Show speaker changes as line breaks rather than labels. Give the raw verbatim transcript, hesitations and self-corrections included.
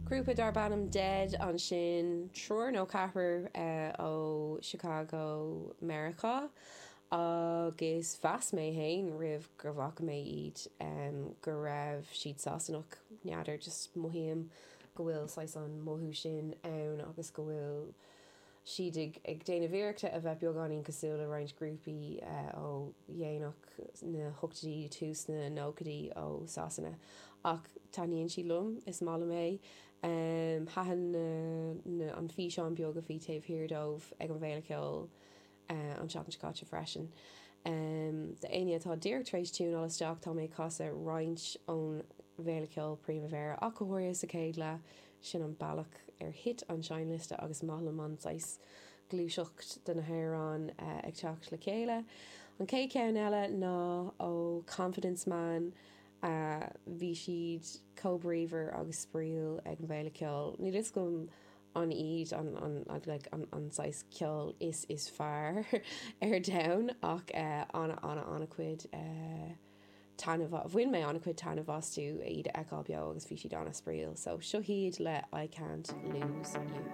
Grúpa darb ainm Dead ansin triúr nó ceathrar ó Chicago, Meiriceá agus mheas mé féin roimh go bhfaca mé iad go raibh siad Sasanach n'fheadar just mothaím go bhfuil saghas an mothú sin ann agus go bhfuil siad ag ag déanamh iarrachta a bheith beagáinín cosúil le roinnt grúpaí ó dhéanach na hochtóidí tús na nóchaidí ó Sasana ach taitníonn siad liom is maith liom é. Thaitin na an físeán beag a bhí taobh thiar dóibh ag an bhFéile Ceoil an tseachtain seo caite freisin. D'éinne atá díreach tar éis tiúnáil isteach tá mé ag casadh roinnt ón bhFéile Ceoil Primavera ach go háirithe sa chéad leath sin an bealach ar thit an seinnliosta agus maith liom an saghas gluaiseacht de na hamhráin ag teacht le chéile. An chéad cheann eile ná ó Confidence Man bhí siad chomh bríomhar agus spraíúil ag an bhFéile Ceoil. Níl fhios agam an iad an an like an an saghas ceoil is is fearr ar domhan ach ana ana ana chuid taitneamh bhain mé ana chuid taitneamh astu iad a fheiceáil beo agus bhí siad an-spraíúil so seo hiad le I Can't Lose You.